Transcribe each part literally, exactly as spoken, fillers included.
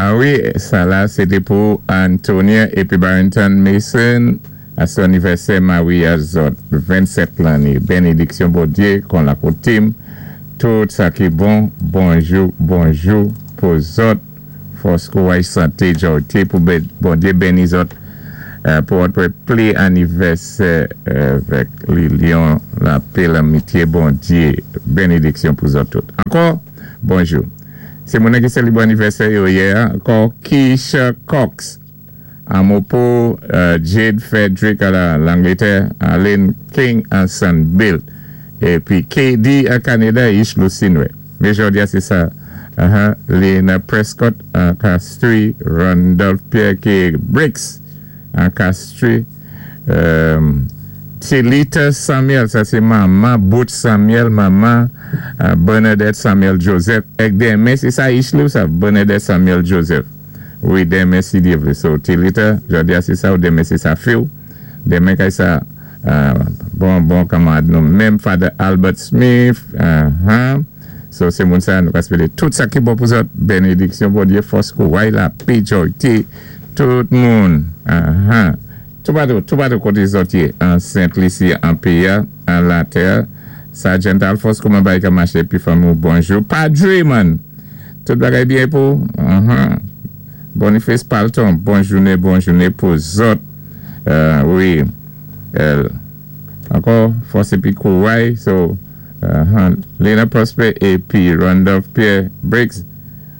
Ah wi, sa la, sé pou Antonia épi Barrington Mason, a son anivèsè maryaj zòt, vennsèt lanné. Bénédiksyon Bondyé, kon la koutim, tout sa ki bon, bonjou, bonjou pou zòt, fòs kouway santé, jòyté, pou Bondyé béni zòt, pou apwé pli anivèsè vèk linyon, lapé, lanmityé, Bondyé, bénédiksyon pou zòt tout. Ankò, bonjou. Sé moun ki sélébwé anivèsè yo yè, ankò Keisha Cox, Amopo, Jade Frederick a Langletè, Aline King an Sunbill, épi K D a Kanada, Ish Lucinwe. Mé jòdi a sé sa, Lena Prescott an Castries, Randolph Pierre K. Briggs an Castries, Tilita Samuel, sa sé manman Booth Samuel, manman Bernadette Samuel Joseph, èk denmen, sé sa Ish ou sa, Bernadette Samuel Joseph. Wi, denmen si Dyé vlé. So, Tilita, jòdi a sé sa ou denmen sé sa fi ou. Denmen kay sa, bon, bon kanmarad nou, menm Father Albert Smith, so sé moun sa, nou ka swété tout sa ki bon pou zòt, bénédiksyon Bondyé, fòs kouway, lapé, jòyté, tout moun, toupatou, toupatou koté zòt yé, an Sent Lisi, an péyi a, an latè, Sergeant Alphonse, kouman bagay ka maché, pi fanmi ou, bonjou, Padre man, tout bagay byen pou, Boniface Palton, bon jouné, bon jouné pou zòt, wi, ankò, fòs épi kouway, so, Lena Prosper épi Randolph Pierre Briggs,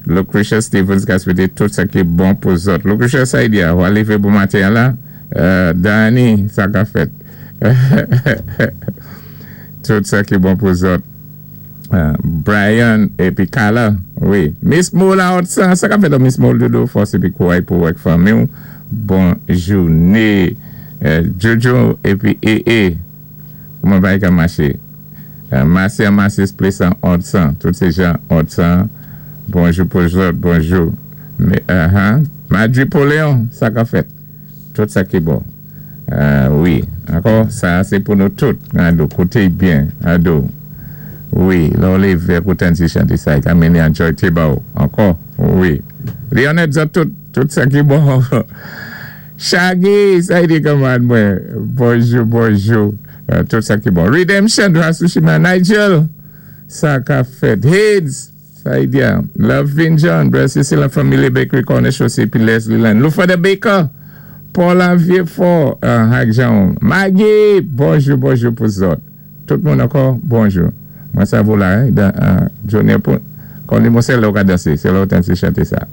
Lucretia Stevens ka swété tout sa ki bon pou zòt. Lucretia Saidia, ou lévé bon maten la, Dani, sa ka fèt. Tout sa ki bon pou zòt. Brian épi Kala, wi. Miss Moula Otsan, sa ka fèt Miss Moula doudou, fòs épi kouway pou èk fanmi ou. Bon jouné. Jojo épi E E. Kouman bagay ka maché? Masi an Masi Place an Otsan. Tout sé jan Otsan. Bonjou pou zòt, bonjou. Madri Poléon, sa ka fèt. Tout sa ki bon. Wi, ankò, sa sé pou nou tout. Ado, kouté byen, ado. Wi, lè ou lévé kou tann ti chanté sa, ka mennen an jòyté ba ou. Ankò, wi. Lionel zòt tout, tout sa ki bon. Shaggy, sa di kanmarad mwen. Bonjou, bonjou. Tout sa ki bon. Redemption, Rasushima Nigel. Sa ka fèt. Hades, sa di ya. Love John, Brother Cecil la Family Bakery Corner Chaussée, puis Leslie Land. Lufa Baker, Paul Vieux-Fort, Hak Jean. Maggie, bonjou, bonjou pou zòt. Tout moun ankò, bonjou. Mwen sa vou la, Johnny, kon li mwen se lè ou ka dansé, sé lè ou tann ti chanté sa.